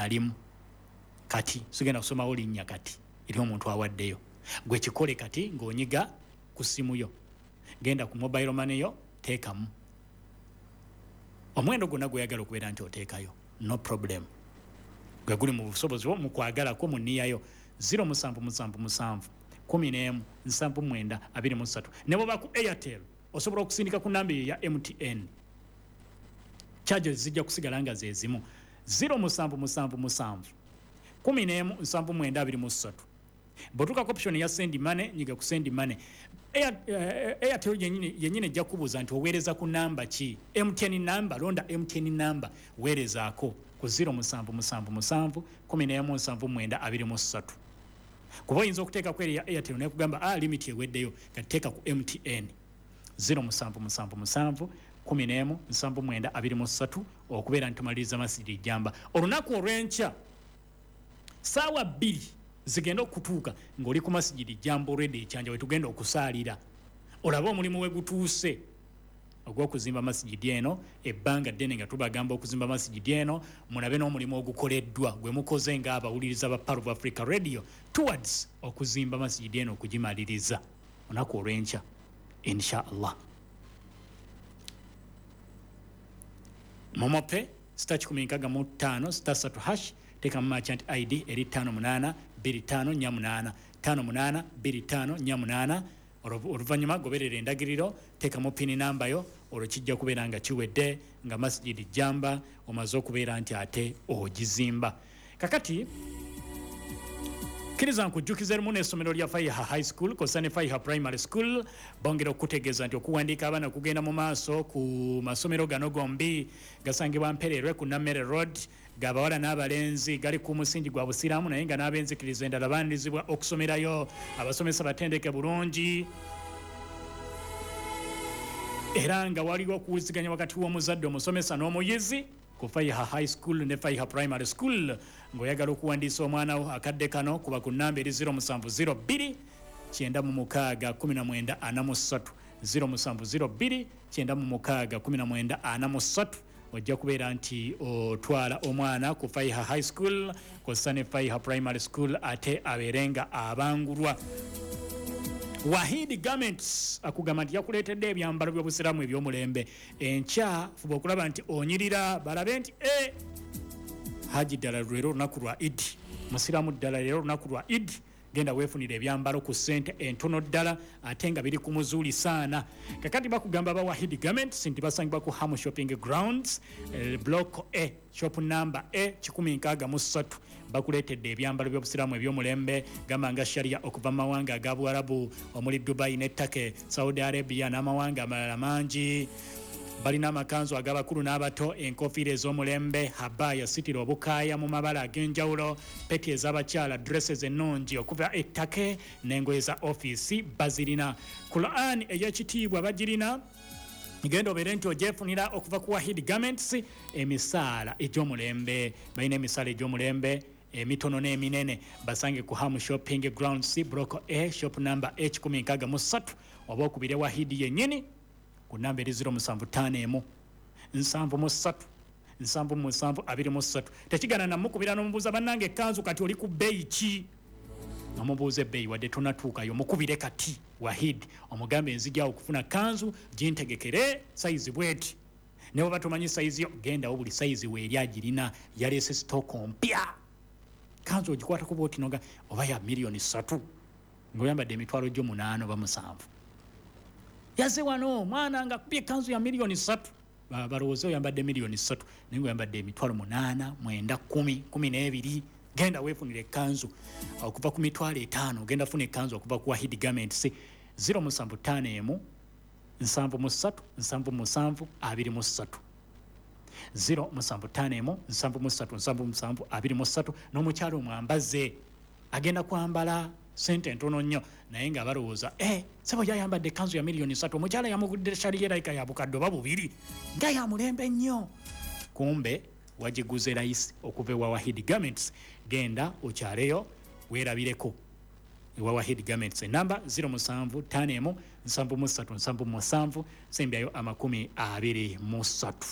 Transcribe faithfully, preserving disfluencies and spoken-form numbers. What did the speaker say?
Nalimu kati sigenda kusomawo linnya kati eri omuntu awaddeyo. Gwe kikole kati ng'onyiga ku ssimu yo, genda ku mobile money yo, teekamu omuwendo gwonna gweyagala okubeera nti oteekayo, no problem, gwe guli mu busobozi bwo, mu kwagalako, mu nniyayo. zero musanvu musanvu musanvu kumi n'emu nsanvu mwenda abiri mu ssatu. Ne bwoba ku Airtel osobola okusindika ku namba eyo ya M T N, charges zijja kusigala nga ze zimu. zero musanvu musanvu musanvu kumi n'emu nsanvu mwenda abiri mu ssatu. Bw'otuuka ku option ya send money, nyiga ku send money. Air- eh, airtel yenyini yenyini ejja kubuuza nti oweereza ku namba ki? M T N namba, londa M T N namba, weerezaako ku zero musanvu musanvu musanvu kumi n'emu nsanvu mwenda abiri mu ssatu, kuba oyinza okuteekako eri ya Airtel nekugamba a limit eweddeyo. Kati teeka ku M T N zero musanvu musanvu musanvu kumi n'emu nsanvu mwenda abiri mu ssatu okubeera nti tumaliriza Masjidi Jamba olunaku olw'enkya saawa bbiri zigenda okutuuka ng'oli ku Masjidi Jamba olwedde ekyanja we tugenda okusaalira, olabe omulimu we gutuuse ogw'okuzimba masijidi eno. Ebbanga ddene nga tubagamba okuzimba masijidi eno, mulabe n'omulimu ogukoleddwa gwe mukoze ng'abawuliriza ba Pearl of Africa Radio towards okuzimba masijidi eno, okugimaliriza olunaku olw'enkya insha Allah. MoMo Pay, star kikumi nkaaga mu ttaano star ssatu hash, teekamu merchant I D eri ttaano munaana bbiri ttaano nnya munaana, ttaano munaana bbiri ttaano nnya munaana. Oluvannyuma goberera endagiriro, teekamu pini namba yo, olwo kijja kubeera nga kiwedde nga Masjidi Jamba omaze okubeera nti ate ogizimba. Kakati kkiriza nkujjukiza erimu n'essomero lya Faiha High School kosa ne Faiha Primary School bongera okukutegeeza nti okuwandiika abaana kugenda mu maaso ku masomero gano gombi. Gasangibwa Mpererwe ku Nammere Road, gabawala n'abalenzi, gali ku musingi gwa Busiraamu, naye nga n'abenzikiriza endala baanirizibwa okusomerayo. Abasomesa batendeke bulungi, era nga waliwo okuwuliziganya wakati w'omuzadde, omusomesa n'omuyizi ku Faiha High School ne Faiha Primary School. Ng'oyagala okuwandiisa omwana wo akadde kano, kuba ku namba eri zero musanvu zero bbiri kyenda mu mukaaga kkumi na mwenda ana mu ssatu, zero musanvu zero bbiri kyenda mu mukaaga kkumi na mwenda ana mu ssatu. Ojja kubeera nti otwala omwana ku Faiha High School kw'ossa ne Faiha Primary School, ate abeere nga abangulwa. Wahid Garments akugamba nti yakuleetedde ebyambalo by'Obusiraamu eby'omulembe. Enkya fuba okulaba nti onyirira, balabe nti e haji ddala leero olunaku lwa Idi, musiraamu ddala leero olunaku lwa Idi. Genda weefunira ebyambalo ku ssente entono ddala, ate nga biri ku muzuuli saana. Kakati bakugamba ba Wahid Garments nti basangibwa ku Hamu Shopping Grounds, eh, Block A, shop number A kikumi nkaaga mu ssatu. Bakuleetedde ebyambalo by'Obusiraamu eby'omulembe, gamba nga sharia okuva mu mawanga aga Buwarabu omuli Dubai ne Turkey, Saudi Arabia n'amawanga amalala mangi. Balina amakanzu ag'abakulu n'abato, enkofiira ez'omulembe, habaya, sitira obukaaya mu mabala ag'enjawulo, peti ez'abakyala, dresses ennungi okuva e Turkey n'engoye za ofiisi bazirina. Quran ey'ekitiibwa bagirina, genda obeere nti ogyefunira okuva ku Wahid Garments. Emisaala egy'omulembe, balina emisaala egy'omulembe emitono n'eminene. Basange ku Ham Shopping Grounds, Block A, shop number A kikumi nkaaga mu ssatu, oba okubire Wahidi yennyini ku namba eri zero musanvu ttaano emu nsanvu mu ssatu nsanvu mu musanvu abiri mu ssatu. Tekigana namukubira n'omubuuza, "Bannange, ekkanzu kati oli ku bbeeyi ki?" Omubuuza ebbeeyi wadde tonatuukayo. Mukubire kati Wahid, omugambe, "Nzijaawo okufuna kanzu, gintegekere sayizi bweti." Ne bweba tomanyi sayizi yo, gendawo, buli sayizi weeri agirina. Yaleese stock mpya. Kanzu ogikwatako bwoti noga oba ya miliyoni ssatu, ng'oyambadde emitwalo gyo munaana oba musanvu. Yaze wano omwana nga akubye ekanzu ya miliyoni ssatu, Ba- balowooze oyambadde miliyoni ssatu, naye nga oyambadde emitwalo munaana, mwenda, kumi, kumi n'ebiri. Genda weefunira ekkanzu okuva ku mitwalo etaano. Ogenda funa ekkanzu okuva ku Wahid Garments, zero musanvu ttaano emu nsanvu mu ssatu nsanvu mu musanvu abiri mu ssatu, zero musanvu ttaano emu nsanvu mu ssatu nsanvu mu musanvu abiri mu ssatu. N'omukyalo omwambaze agenda kwambala sente entono nnyo, naye nga balowooza e sebo yayambadde ekkanzu ya miliyoni ssatu, omukyala yamugudde shaliyeraika ya bukadde oba bubiri, nga ya mulembe nnyo. Kumbe wagiguze layisi okuva ewa Wahid Garments. Genda okyaleyo weerabireko ewa Wahid Garments. Enamba zero musanvu ttaano emu nsanvu mu ssatu nsanvu mu musanvu sembyayo amakumi abiri mu ssatu.